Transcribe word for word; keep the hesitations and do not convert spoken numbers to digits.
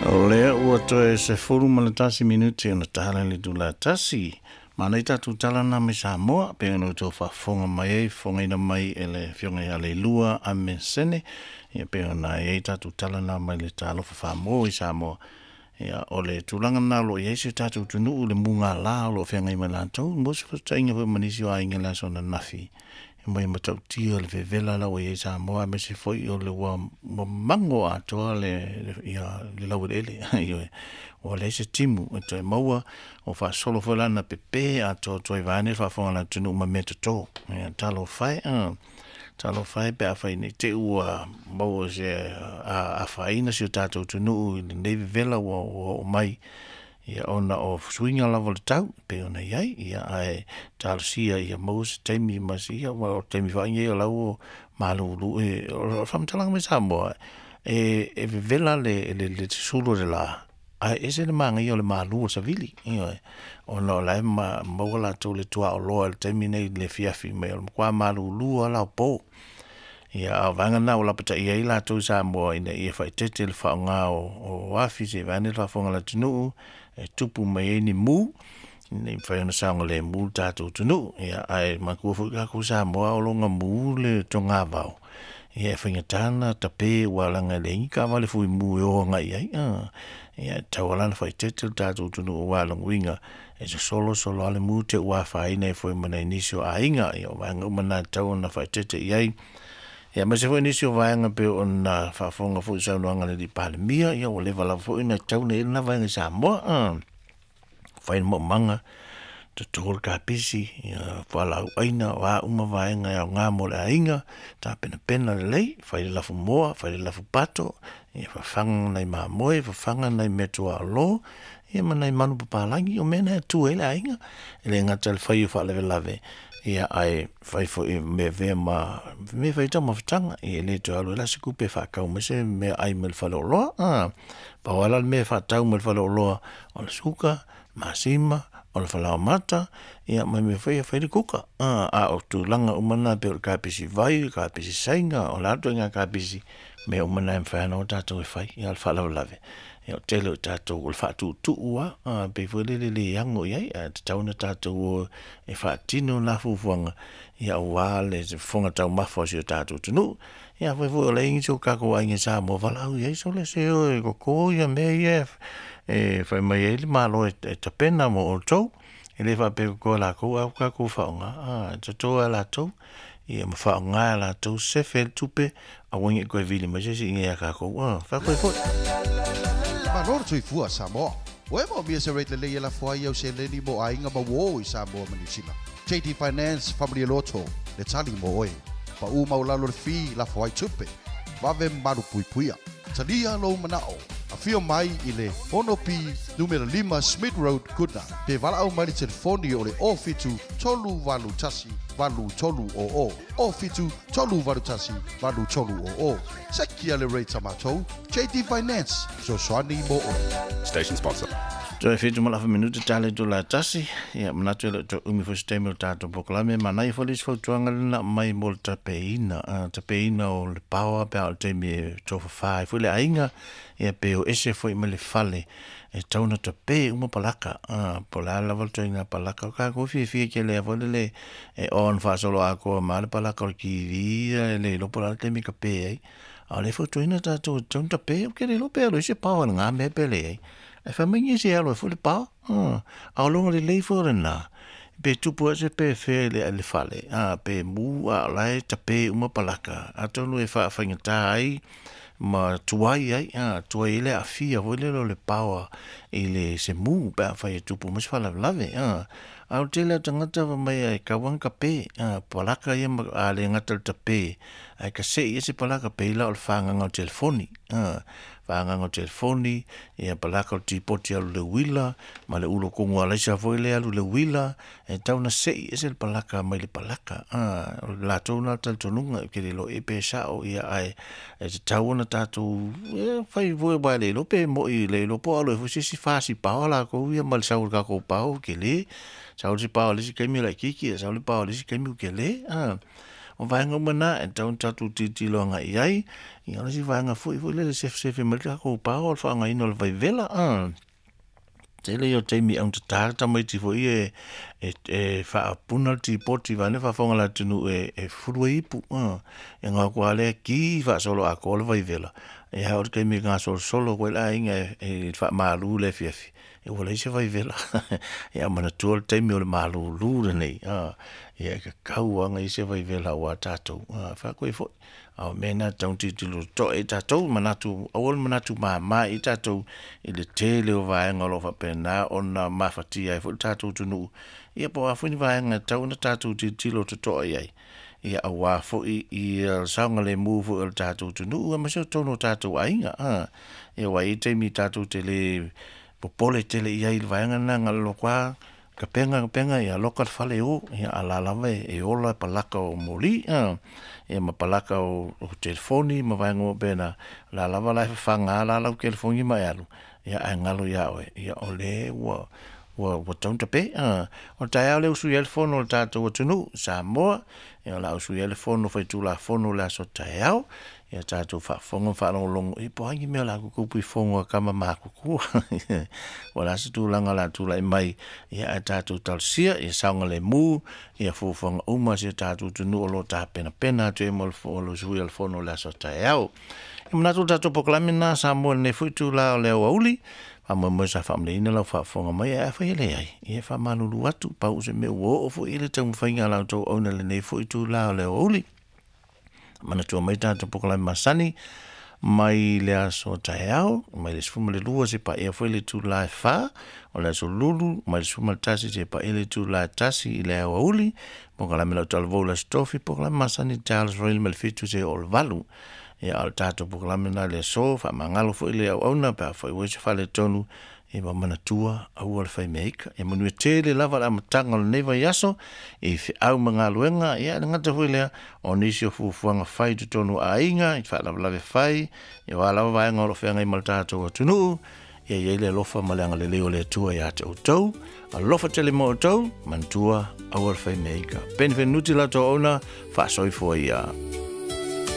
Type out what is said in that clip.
O lea ua toe sefulu ma le tasi minuti ona tala i le itula e tasi. Manaia tatou tala na mai Samoa, pei ona outou faafofoga mai ai, fofogaina mai e le Afioga ia Leilua Amesene, ia pei ona i ai tatou tala na mai le Talofa Faamo i Samoa. Ia, o le tulaga lena o lo o i ai si o tatou atunuu i le mugala o lo o feagai ma latou, mo se fesootaiga foi ma nisi o aiga i le aso ananafi, e mai matautia le vevela la ua i ai Samoa, aemaise foi o le ua mago atoa le, le, ia, le laueleele. Ioe, ua leai se timu e toe maua, ua faasolo foi la na pepe atoa atoa i vaeane le faafofoga a le atunuu ma mea toto. Ia, talofa e, uh, talofa e pe afai nei te i ua maua se afaina si o tatou atunuu i lenei vevela ua oo mai, ia ona o suiga lava o le tau pei ona i ai, ia ae talosia ia maua se taimi ma se ia, aua o le taimi foi lenei o la ua malulu e o le faamatalaga mai Samoa, e, e vevela le, le, le susulu o le la, ae ese le manaia o le malu o le savili, ioe, ona o la e ma, maua latou le tuaoloa i le taimi nei i le afiafi mai o le matua malulu lava la o po. Ia, a o vaega lena ua lapataia ai latou i Samoa ina ia faaeteete i le faaaoga o, o afi se i vaeane le faafofoga a le atunuu e tupu mai ai ni mu, ina ia mafai ona saogalemu le tatou atunuu. Ia, ae manatua foi tatou Samoa o loga mu le togavao, ia e faigata ona tape aua leaga e leai ni taavale fuimu e o agai i ai. Ia, e tatau lava la ona faaeteete le tatou atunuu aua o lona uiga e sosolo solo lava le mu te i ua afaina ai foi ma nai nisi o aiga. Ia, o vaega uma na e tatau ona faaeteete i ai. Ia, aemaise foi nisi o vaega pei ona faafofoga foi i saunoaga a le alii Palemia, ia ua leva lava foi ona tatau ona i ai lena vaega i Samoa. Fai le maumaga, toto le kapisi, ia fualaau aina, o a uma vaega e aoga mo le aiga, tapenapena lelei, fai le lafumoa, fai le lafupato, ia fafaga nai mamoe, fafaga nai meatuaolo, ia ma nai manupapalagi, o mea na e tu ai le aiga. E le gata i le fai o faalavelave, ia ae fai foi mea e avea ma mea e fai ai taumafataga, ia e le toe alu ai la se tupe e faatau mai se meaai mai le faleoloa. A, pau lava la le mea e faatau mai le faleoloa, o le suka, masima, o le falaoamata, ia ma mea foi ia e fai ai le kuka. A, a o tulaga uma na pei o le kapisi vai, o le kapisi Saina, o le a le ituaiga kapisi, mea uma na e mafai lava ona o tatou e fai. Ia, o le faalavelave, ia o le tele o tatou o le faatuutuu lava, pei foi lele e le ano i ai, ae tatau ona tatou o e faatino na fuafuaga, ia aua le fofoga taumafa o si o tatou atunuu. Ia afai foi o la e i ai nisi o tatou aiga i Samoa, valaau i ai sole se o e toto ia mea ia e fai mai ai le Malo e tapena mo outou. E le faapea e toto e latou ae ua tatou faaaoga, a, e toto lava e latou, ia ma faaaoga e latou sefe le tupe, aua ne i toe vili mai se isi i inei ia tatou, a, faafoe foi. Malo le soifua Samoa. Ua e moomia se rate lelei e lafo ai au seleni mo aiga ma uō i Samoa ma Niu Sila. J D Finance Family Loto, le tali mo oe. Pau maualalo le fee lafo ai tupe. Vave malu puipuia. Talia lou manao. Afio mai i le ono P numera lima Smith Road, Goodna. Pe valaau mai le telefoni o le o fitu tolu valu tasi valu tolu o o. O fitu tolu valu tasi valu tolu o o. Sekia le rate a matou. J D Finance, fesoasoani mo oe. Station sponsor. Toe fitu ma le afa minute tala i itula e tasi. Ia, manatu e le o toe umi foi se taimi o le tatou polokalame. Manaia foi le isi fautuaga lena aumai mo le tapeina, uh, tapeina o le paoa pe a o le taimi e tofafa ai foi le aiga, ia pe o ese foi mai le fale, e tatau ona tape uma palaka, uh, po o le a lava le ituaiga palaka. O tatou fiafia tele ai foi lele e on faasolo atoa ma le palaka o le T V, ia e le iloa po o le a le taimi e tape ai. A o lea e fautuaina tatou e tatau ona tape, ou te le iloa pe alu ai se paoa i lena mea pe leai. E fai mai nisi e alu ai foi le paoa, a o loga lelei foi o lena, pe tupu ai se pe fea i le, le fale, a, pe mu, a o la e tape uma palaka, atonu e faafaigata ai ma tuai ai, a, tuai ai le aafia foi lele o le paoa i le se mu pe afai e tupu mai se faalavelave, a. A o le tele o tagata fai mai e tau lava ona tape, a, palaka ia ma, a le gata i le tape, ae kasei ai se palaka pei la o le fagaga o le telefoni, a, fagaga o le telefoni, ia palaka o le tipoti alu le uila, ma le ulo kogu alaisa foi le alu le uila, e tau ona sei ese le palaka mai le palaka, a, o le latou na talitonuga, ke le iloa e pe sao, ia ae e tatau ona tatou, e, fai foi aua e le iloa pe moi le iloa po o alu ai foi se isi fasi paoa latou ia ma le sau o le tatou paoa ua tele, sau le isi paoa i le isi taimi e laitiiti, sau le paoa i le isi taimi ua tele, a. O vaega uma na e tatau ona tatou tilotilo agai i ai, ia o le isi vaega foi foi lele sefesefe mai le tatou pao o le faaaogaina o le vaivela a. Tele ia o taimi augatata le tamaiti foi e e e faapuna le tipoti vaeane faafofoga a le atunuu e e fufulu ai ipu a. E gau atu lava lea ki faasoloatoa le vaivela, ia oo i le taimi e gasolosolo atu ai le aiga e faamalu i le afiafi, ia ua leai se vaivela. Ia manatua le taimi o le malūlū lenei a, ia e tatau lava ona i ai se vaivela aua tatou a, fai atu ai foi, a o mea na e tatau ona tilotilo totoa i ai tatou, manatu aua le manatu mama i ai tatou i le tele o vaega o lo o faapena ona mafatia ai foi le tatou atunuu, ia po o a foi ni vaega e tatau ona tatou tilotilo totoa i ai, ia aua foi ia saogalemu foi o le tatou atunuu aemaise o totonu o tatou aiga a. Ia aua e i ai taimi tatou te le popole tele i ai i le vaega lena na o le alu atu lava tapena tapena ia loka le fale o, ia a o la e lava e ola palaka o moli a, ia ma palaka o telefoni ma vaega uma faapena, o la e lava la e fafaga lava lau telefoni ma e alu, ia ae galo ia oe, ia o lea ua ua ua tatau ona tape a. O le taeao lea ua sui ai le fono a le tatou atunuu Samoa, ia o le a usuia ai le fono faitulafono i le aso taeao, ia tatou faafofoga ma faalogologo ia po o a ni mea o le a tutupu i fono a tama matutua. Po o le a se tulaga o le a tulai mai, ia ae tatou talosia ia saogalemu ia fuafuaga uma a si o tatou atunuu o lo o tapenapena atu ai mo le usuia o le fono i le aso taeao. E manatu o le tatou polokalame lena Samoa i lenei foi itula o le aoauli, faamoemoe sa faamalieina lau faafofoga mai, ae afai e leai, ia e faamalulu atu, pau o se mea ua oo foi i le taumafaiga a la outou auauna i lenei foi itula o le aoauli. Manatua mai tatou polokalame masani mai le aso taeao, mai le sefulu ma le lua seia paia foi le itula e fa, o le aso lulu mai le sefulu ma le tasi seia paia le itula e tasi i le aoauli, polokalame lau talavou i le aso tofi, polokalame masani i le taeao aso Faraile mai le fitu seia oo i le valu. Ia a o le tatou polokalame lena i le aso, faamagalo foi le auauna pe afai ua i ai se faaletonu, ia ma manatua aua le faimea ika. Ia manuia tele lava le amataga o lenei vaiaso i feau ma galuega, ia e le gata foi i lea, o nisi o fuafuaga fai i totonu o aiga, i faalavelave fai, ia o a lava vaega o lo o feagai ma le tatou atunuu, ia i ai le alofa ma le agalelei o le Atua ia te outou. Alofa tele mo outou, manatua aua le faimea ika. Peni Fenuti la outou auauna, faasoifua ia.